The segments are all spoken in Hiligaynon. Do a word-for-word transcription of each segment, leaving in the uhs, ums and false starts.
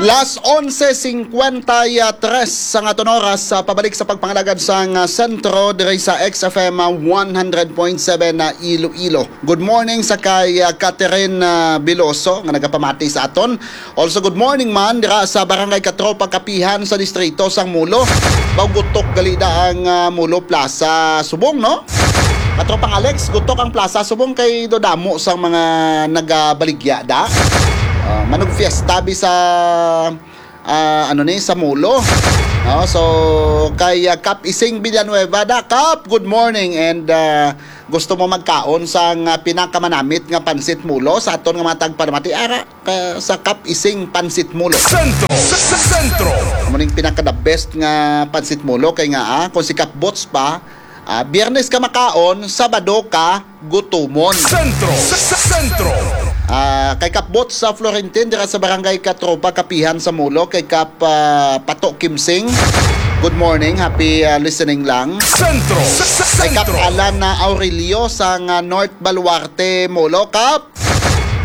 Las onse cincuenta y tres ang aton oras sa pabalik sa pagpangalagad sang, ah, sentro diri sa X F M, ah, one hundred point seven na Iloilo. Good morning sa kay, ah, Catherine, ah, Biloso nga nagapamati sa aton. Also, good morning man dira sa Barangay Katropa, Kapihan sa distrito sang Molo. Baw gutok gali da ang, ah, Molo Plaza subong, no? Katropang Alex, gutok ang plaza subong kay do damo sang mga nagabaligya da. Ah, manugfiesta bi sa, ah, ano ni, sa Molo. No? So, kay, ah, Kap Ising Villanueva da, Kap, good morning. And, ah, gusto mo magkaon sang, ah, pinakamanamit nga pansit Molo sa aton nga mga tagpanamati? Ara, ka, sa Kap Ising Pansit Molo. Sentro, sa, sa sentro. Amo ning pinaka the best nga pansit Molo kay nga, ah, kung si Kap Bots pa, ah, Biyernes ka makaon, Sabado ka gutumon. Sentro, sa, sa sentro. Ah, kay Kap Bots sa Florentin, dira sa Barangay Katropa, Kapihan sa Molo, kay Kap, ah, Pato Kimsing. Good morning, happy, ah, listening lang. Sentro, sa, sa Kay Kap sentro. Alan na Aurelio sa nga North Baluarte, Molo, Kap.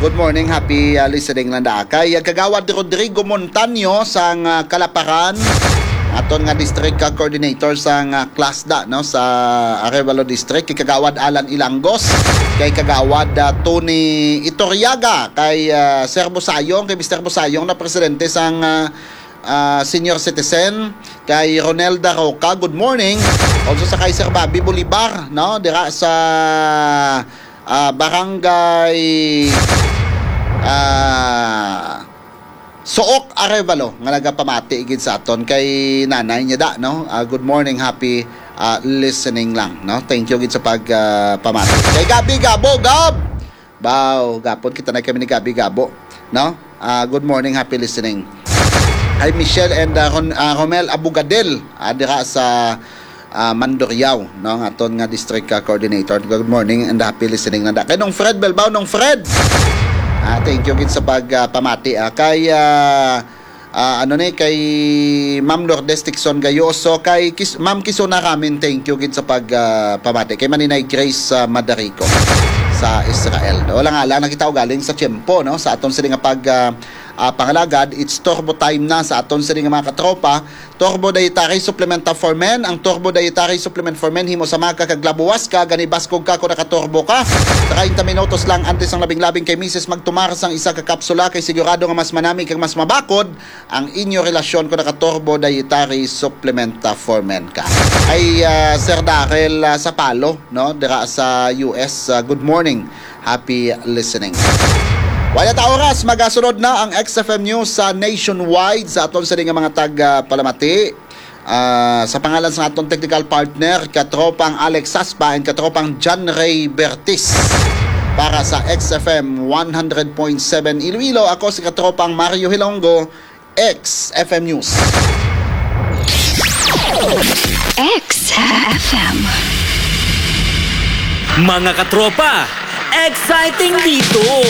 Good morning, happy, ah, listening lang da. Kay, ah, Kagawad Rodrigo Montaño sang, ah, Kalaparan, aton nga district, ah, coordinator sang, ah, CLASDA, no, sa Arevalo District, kay Kagawad Alan Ilangos, kay Kagawad, ah, Tony Itoriaga, kay, ah, Sir Busayong, kay Mister Busayong na presidente sang, ah, ah, senior citizen, kay Ronelda Roca, good morning. Also sa kay Sir Bobby Bolivar, no, dira sa, ah, Barangay, ah, Suok, Arevalo, nga nagapamati gid sa aton kay nanay niya da, no? Ah, good morning, happy, ah, listening lang, no? Thank you gid sa pag, ah, pamati. Kay Gabi Gabo, Gab! Baw, gapon kita na kami ni Gabi Gabo, no? Ah, good morning, happy listening. Hi, Michelle and, ah, Ron-, ah, Romel Abugadel, ah, dira sa, ah, Mandurriao, no? Ang aton nga district, ah, coordinator. Good morning and happy listening na da. Kay Nong Fred Belbao, Nong Fred. Ah, thank you gid sa pag, ah, pamati, ah. Kay, ah, ah, ano ni, kay Ma'am Lourdes Tixon Gayoso, kay Kis-, Ma'am Kisuna Ramin, thank you gid sa pag, ah, pamati. Kay Maninay Grace, ah, Madarico sa Israel. Wala nga lang, nakita ko galing sa tiyempo, no? Sa aton sini nga pag, ah, ah, pangalagad, it's turbo time na sa aton sini nga mga katropa. Turbo Dietary Supplement for Men. Ang Turbo Dietary Supplement for Men, himo sa maga kag labuwas ka, gani baskog ka kung nakaturbo ka. Treinta minutos lang antes ang labing-labing kay misis magtumar sang isa ka kapsula, kay sigurado nga mas manami kag mas mabakod ang inyo relasyon kung naka-Turbo Dietary Supplement, ah, for Men ka. Ay, ah, Sir Daryl, ah, Sapalo, no, dira sa U S, ah, good morning. Happy listening. Wala ta oras, magasunod na ang X F M News sa nationwide sa aton sini nga mga tag, ah, palamati. Ah, sa pangalan sa aton technical partner, katropang Alex Saspa and katropang John Ray Bertis, para sa X F M one hundred point seven Iloilo, ako si katropang Mario Hilonggo, X F M News. X F M. Mga katropa, exciting dito!